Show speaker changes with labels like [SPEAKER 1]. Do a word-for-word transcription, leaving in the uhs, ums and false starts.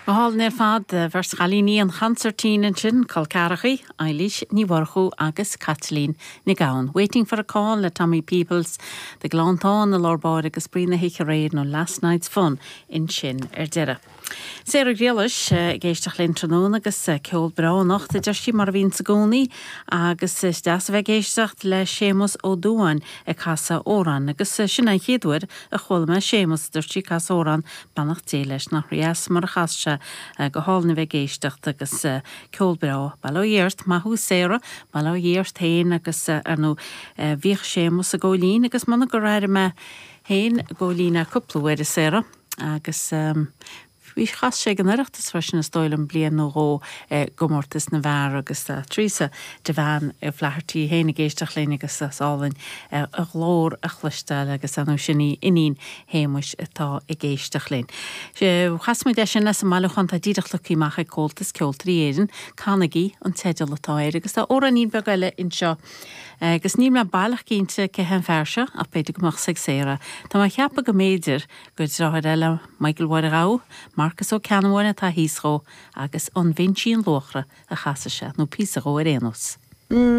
[SPEAKER 1] Go hálainn ar fad beirt chailíní an chansairtín ansin col ceathracha, Eilís Ní Mhurchú agus Caitlín Nic Gabhann. Waiting for a Call le Tommy Peoples, de Gleanntán i lár báire agus spraoi na hoíche aréir nó Last Night's Fun ansin ar deireadh. Sarah Griallais ag éisteacht linn tráthnóna agus ceol breá anocht a deir sí mar a bhíonn i gcónaí agus is deas a bheith ag éisteacht le Séamus Ó Dúáin ag casadh amhrán agus sin an chéad uair a chuala mé Séamus dúirt sí casadh amhrán beannacht Dé leis nach dheas mar a chas sé go hálainn a bheith ag éisteacht agus ceol breá Bail ó Dhia ort maith thú Sarah Bail ó Dhia ort féin agus ar nó bhíodh Séamus ag Góilín agus muna gur airigh mé féin Góilín cúpla uair a Sarah agus um, Bhí chas sé an Oireachtas freisin is dóigh liom bliain nó dhó i gcomórtas na bhfear agus Teresa de bhean Flaherty féin ag éisteacht linn agus is álainn a glór a chloisteáil agus anú sin í iníon Shéamuis atá ag éisteacht linn. Chas muid é sin leis an mbailiúchán atá díreach tugtha amach ag Comhaltas Ceoltóirí Éireann, Canaigí an teideal atá air agus tá amhráinín beag eile anseo. Agus níl mé baileach cinnte cé an fear seo ach b'fhéidir go mbeadh ag Sarah. Tá mé ag ceapadh go mb'fhéidir gur deartháir eile Michael Mháire Ghabha, Marcus Ó Ceannabháin atá thíos dhó agus an Binsín Luachra a chasfaidh sé nó píosa dhó ar aon nós.
[SPEAKER 2] Mm.